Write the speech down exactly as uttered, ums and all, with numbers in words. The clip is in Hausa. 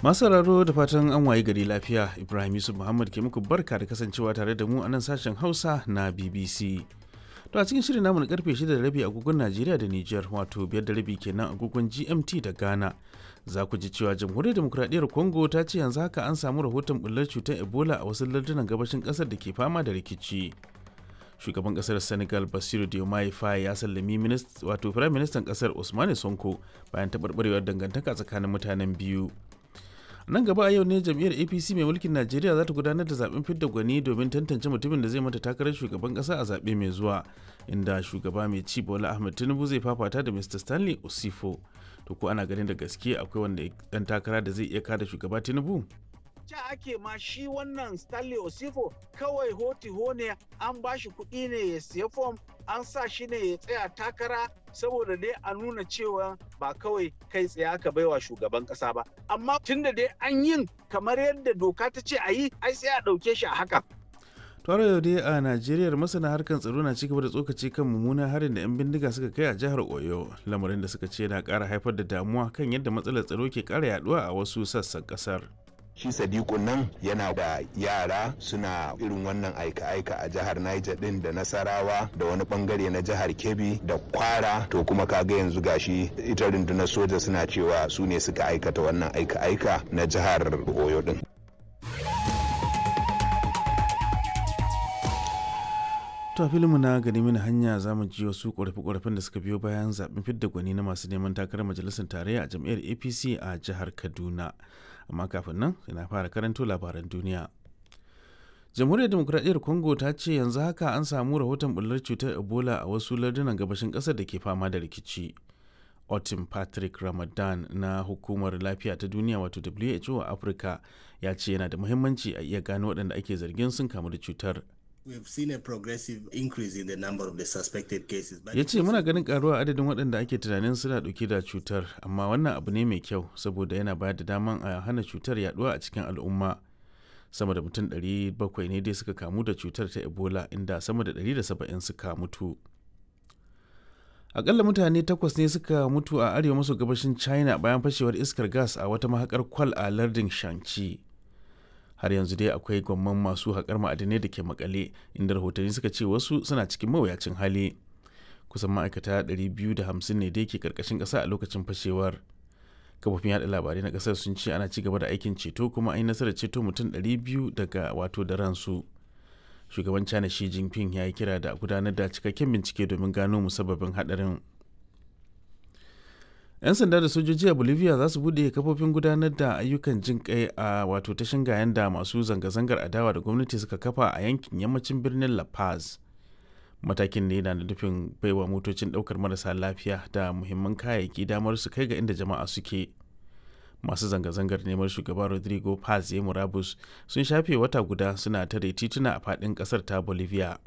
Masu sauraro, da fatan an wayi gari lafiya. Ibrahim Yusuf Muhammad ke muku barka da kasancewa tare da mu a nan sashen Hausa na B B C. To, a cikin shirin namu na karfe shida da rabi agogon Najeriya da Nijar, wato biyar da rabi kenan agogon G M T da Ghana, za ku ji cewa Jamhuriyar Demokuraɗiyyar Congo ta ce yanzu haka an samu rahoton bullar cutar Ebola a wasu lardunan gabashin ƙasar da ke fama da rikici. Shugaban kasar Senegal Bassirou Diomaye Faye ya sallami wato Firayim Ministan kasar Ousmane Sonko bayan taɓarɓarewar dangantaka tsakanin mutanen biyu. Nan gaba a yau ne jam'iyyar A P C mai mulkin Najeriya za ta gudanar da zaben fidda gwani domin tantance mutumin da zai mata takarar shugaban kasa a zaɓe mai zuwa, inda shugaba mai ci Bola Ahmed Tinubu zai fafata da Mister Stanley Osifo. To, ko ana ganin da gaske akwai wanda dan takara da zai iya kada shugaba Tinubu? Ca ake ma shi wannan Stanley Osifo kawai hoti ne, an ba shi kuɗi ne ya siya fom, an sa shi ne ya tsaya takara saboda dai a nuna cewa ba kawai kai tsaye aka baiwa shugaban ƙasa ba. Amma tunda dai an yin kamar yadda doka ta ce a yi, ai sai a ɗauke shi a haka. Tare yau dai a Najeriya, masana harkar tsaro na cigaba da tsokaci kan mummunan harin da 'yan bindiga suka kai a jihar Oyo, lamarin da suka ce na ƙara haifar da damuwa kan yadda matsalar tsaro ke ƙara yaduwa a wasu sassan ƙasar. Shi Sadiku nan yana da yara suna irin wannan aika-aika a jihar Niger din da Nasarawa da wani bangare na jihar Kebbi da Kwara. To, kuma kaga yanzu gashi ita rundunar soja suna cewa su ne suka aikata wannan aika-aika na jihar Oyo din. To, filinmu na gani mini hanya, za mu ji wasu ƙorafe-ƙorafen da suka biyo bayan zaɓen fidda gwani na masu neman takarar majalisar tarayya a jam'iyyar A P C a jihar Kaduna. Amma kafin nan, ina fara karanto labaran duniya. Jamhuriyar Demokuraɗiyyar Congo ta ce yanzu haka an samu rahoton bullar cutar Ebola a wasu lardunan gabashin ƙasar da ke fama da rikici. Otin Patrick Ramadan na Hukumar Lafiya ta Duniya, wato W H O a Afirka, ya ce yana da muhimmanci a iya gano waɗanda ake zargin sun kamu da cutar. Ya ce muna ganin karuwa adadin waɗanda ake tunanin suna ɗauke da cutar, amma wannan abu ne mai kyau saboda yana bayar da daman a hana cutar yaduwa a cikin al'umma. Sama da mutum ɗari bakwai ne dai suka kamu da cutar ta Ebola, inda sama da ɗari da saba'in suka mutu. Akalla mutane takwas ne suka mutu a arewa maso gabashin China bayan fashewar iskar gas a wata mahakar kwal a lardin Shanxi. Har yanzu dai akwai gwamman masu haƙar ma'adinai da ke makale, inda rahotanni suka ce wasu suna cikin mawuyacin hali. Kusan ma'aikata ɗari biyu da hamsin ne dai ke karkashin ƙasa a lokacin fashewar. Kafofin yaɗa labarai na ƙasar sun ce ana ci gaba da aikin ceto, kuma an yi nasarar ceto mutum ɗari biyu daga wato da ransu. Shugaban China Xi Jinping ya yi kira da gudanar da cikakken bincike domin gano musabbabin haɗarin. 'Yan sanda da sojoji a Bolivia za su bude kafofin gudanar da ayyukan jin kai a wato ta shingayen da masu zanga-zangar adawa da gwamnati suka kafa a yankin yammacin birnin La Paz. Matakin ne na nufin baiwa motocin daukar marasa lafiya da muhimman kayayyaki damar su kai ga inda jama'a suke. Masu zanga-zangar neman shugaba Rodrigo Paz ya murabus sun shafe wata guda suna tare tituna a faɗin ƙasar ta Bolivia.